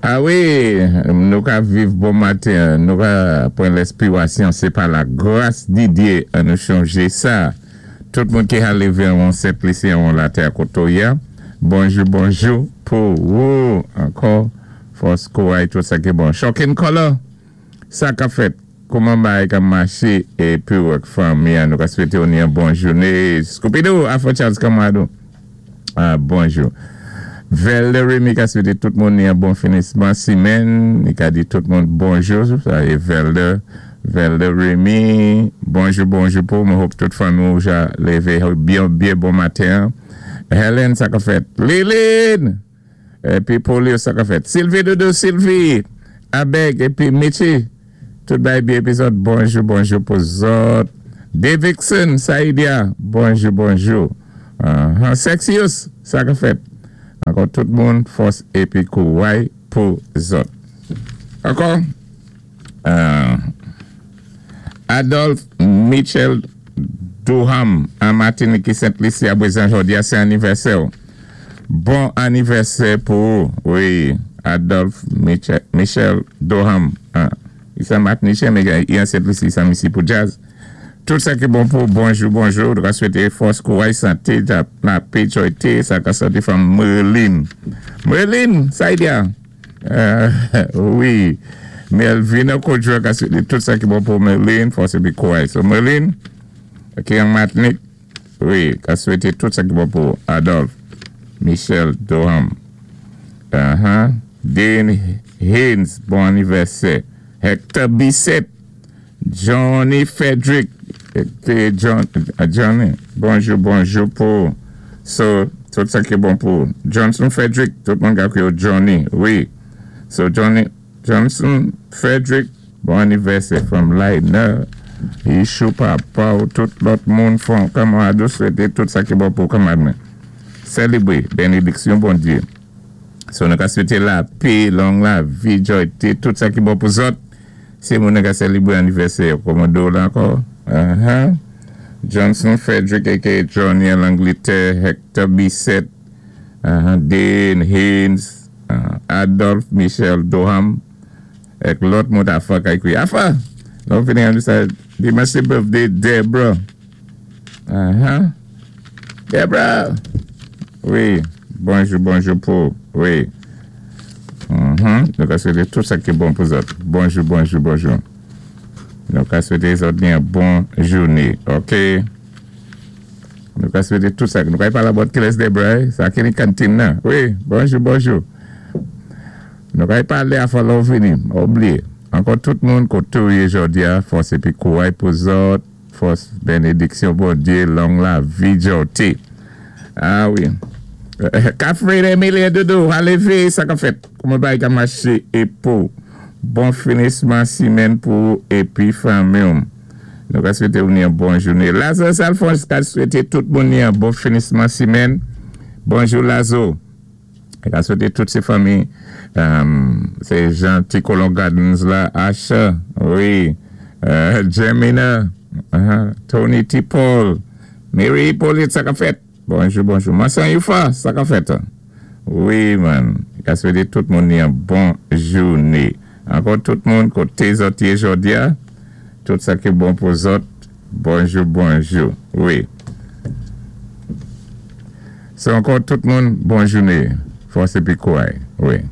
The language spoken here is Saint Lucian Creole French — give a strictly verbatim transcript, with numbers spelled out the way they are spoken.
Ah wi, nou ka viv bon maten, nou ka pran lespirasyon, sé pa la gras di Dye an nou chonjé sa. Tout moun ki ka lévé an Sent Lisi an latè kotoya. Bonjou, bonjou pou ou ankò. Fòs kouray tout sa ki bon. Shocking Color, sa ka fèt. Kouman bagay ka maché épi ak fanmi nou ka swété ou yon bon jouné. Scooby-Doo, Afro Charles Kamado. Ah, bonjou. Velde Remy ka swété tout moun yon bon finisman simèn. Li ka di tout moun bonjou. Sa é Velde, Velde Remy. Bonjou, bonjou pou mwen hope tout fanmi ou ja lévé byen, byen bon maten. Helen, sa ka fèt. Lilin! Épi Polio, sa ka fèt. Sylvie Doudou, Sylvie. Abeg, épi Michi. Tout bagay byen épi zòt. Bonjou, bonjou pou zòt. Davidson, Saïdia. Bonjou, bonjou. Uh -huh. Sexius, sa ka fèt. Ankò tout moun, fòs épi kouray pou zòt. Ankò? Euh, Adolphe Michel Durham, an Matinik ki Sent Lisi a Bwezan jòdi a, sé anivèsè. Bon anivèsè pou wi, Adolphe Michel, Michel Durham. Ah, i sé Matiniken, mé i an Sent Lisi, i sé misik pou jazz. Tout sa ki bon pou bonjou, bonjou. Nou swété fòs, kouray, santé, lapè, jwa, sa ka sòti from Merlin. Merlin, sa y a. Euh, wi. Melvina Kodjo ka swété tout sa ki bon pou Merlin, fòs épi kouray. So Merlin, ki an Matinik, wi, ka swété tout sa ki bon pou Adolphe Michel Durham. Uh-huh. Dane Haynes, bon anivèsè. Hector Bissett, Johnny Frederick, épi John, Johnny, bonjou, bonjou pou so, tout sa ki bon pou Johnson Frederick, tout moun ka kwiyé Johnny, wi. So Johnny, Johnson Frederick, bon anivèsè from Leitner. Ishou papa ou tout lòt moun fon kanmarad ou swété tout sa ki bon pou kanmarad mwen. Sélébré, bénédiksyon Bondye. So nou ka swété lapè, long lavi, jwa, tout sa ki bon pou zòt. Sé moun ka sélébré anivèsè, kòmando la ankò. Uh-huh. Johnson Frederick aka Johnny an Angletè, Hector Bissett, uh-huh. Dane Haynes, uh, Adolphe Michel Doham, ek lòt moun afa kay kwi. Afa! Lò fini an sa, dimanch sé birthday Deborah. Uh-huh. Deborah! Wi, bonjou, bonjou pou, wi. Mm-hmm. Nou ka swété tout sa ki bon pou zòt. Bonjou, bonjou, bonjou. Nou ka swété zòt yon bon jouné, ok? Nou ka swété tout sa. Nou ka palé about kilès Deborah, sa ki ni kantin nan. Wi, bonjou, bonjou. Nou ka palé afa lò fini, oubliyé. Ankò tout moun koté ou yé jòdi a, fòs épi kouray pou zòt, fòs bénédiksyon Bondye, long lavi jwa. Ah wi. Catherine Emilie Doudou, alévé, sa ka fèt. Kouman bagay ka maché é pou bon finisman simèn pou épi fanmi. Nou ka swété ou yon bon jouné. Lazare Alphonse ka swété tout moun yon bon finisman simèn. Bonjou Lazo. Ka swété tout sé fanmi. Um, sé Jean Ticolon Gardens la, Asha, wi, uh, Gemina, uh-huh, Tony T. Paul, Mary Hippolyte, sa ka fèt. Bonjou, bonjou. Massan Yufa, sa ka fèt. Wi, man. Ka swété tout moun yon bon jouné. Ankò tout moun koté zòt yé jòdi a, tout sa ki bon pou zòt. Bonjou, bonjou. Wi. So ankò tout moun, bon jouné. Fòs épi kouray. Wi.